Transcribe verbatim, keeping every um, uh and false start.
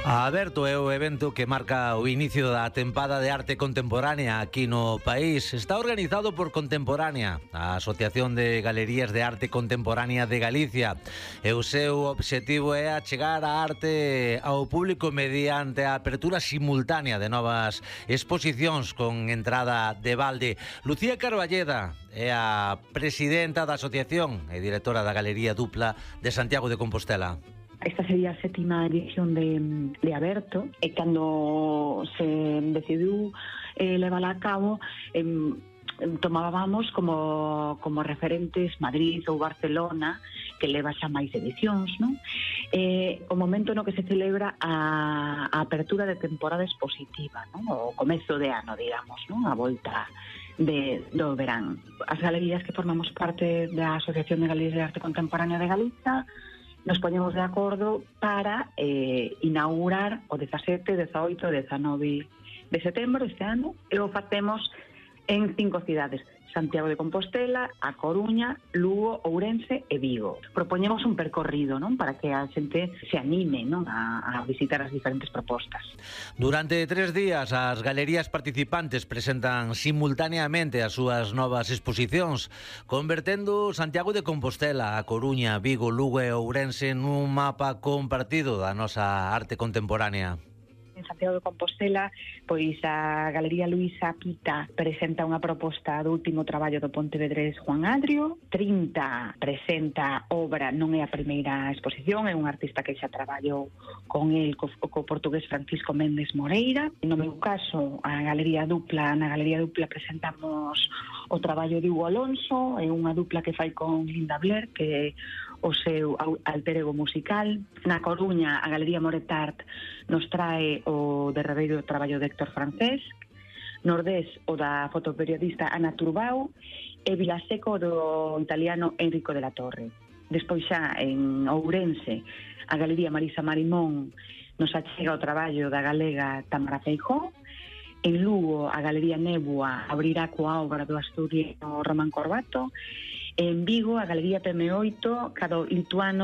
A Aberto é o evento que marca o inicio da tempada de arte contemporánea aquí no país. Está organizado por Contemporánea, a Asociación de Galerías de Arte Contemporánea de Galicia. E o seu obxectivo é achegar a arte ao público mediante a apertura simultánea de novas exposicións con entrada de balde. Lucía Carballeda é a presidenta da asociación e directora da Galería Dupla de Santiago de Compostela. Esta sería a sétima edición de, de Aberto, e cando se decidiu eh, levala a cabo, eh, tomábamos como, como referentes Madrid ou Barcelona, que leva xa máis edicións, non? Eh, o momento no que se celebra a, a apertura de temporada expositiva, non? O comezo de ano, digamos, non? A volta de, do verán. As galerías que formamos parte da Asociación de Galerías de Arte Contemporánea de Galicia nos poñemos de acordo para eh, inaugurar o dezasete, dezaoito, dezanove de setembro este ano, e o facemos en cinco cidades: Santiago de Compostela, A Coruña, Lugo, Ourense e Vigo. Propoñemos un percorrido, non, para que a xente se anime, non, a, a visitar as diferentes propostas. Durante tres días as galerías participantes presentan simultaneamente as súas novas exposicións, convertendo Santiago de Compostela, A Coruña, Vigo, Lugo e Ourense nun mapa compartido da nosa arte contemporánea. En Santiago de Compostela, pois a Galería Luisa Pita presenta unha proposta do último traballo do pontevedrés Juan Adrio. trinta presenta obra, non é a primeira exposición, é un artista que xa traballou con el, co, co portugués Francisco Méndez Moreira. No meu caso, a Galería Dupla, na Galería Dupla presentamos o traballo de Hugo Alonso, é unha dupla que fai con Linda Blair, que é o seu alter ego musical. Na Coruña, a Galería Moretart nos trae o derradeiro traballo de Héctor Francesc, Nordés o da fotoperiodista Ana Turbau e Vilaseco do italiano Enrico de la Torre. Despois xa en Ourense, a Galería Marisa Marimón nos achega o traballo da galega Tamara Feijó. En Lugo, a Galería Nebua abrirá coa obra do asturiano Román Corbato. En Vigo, a Galería P M oito, cada lituano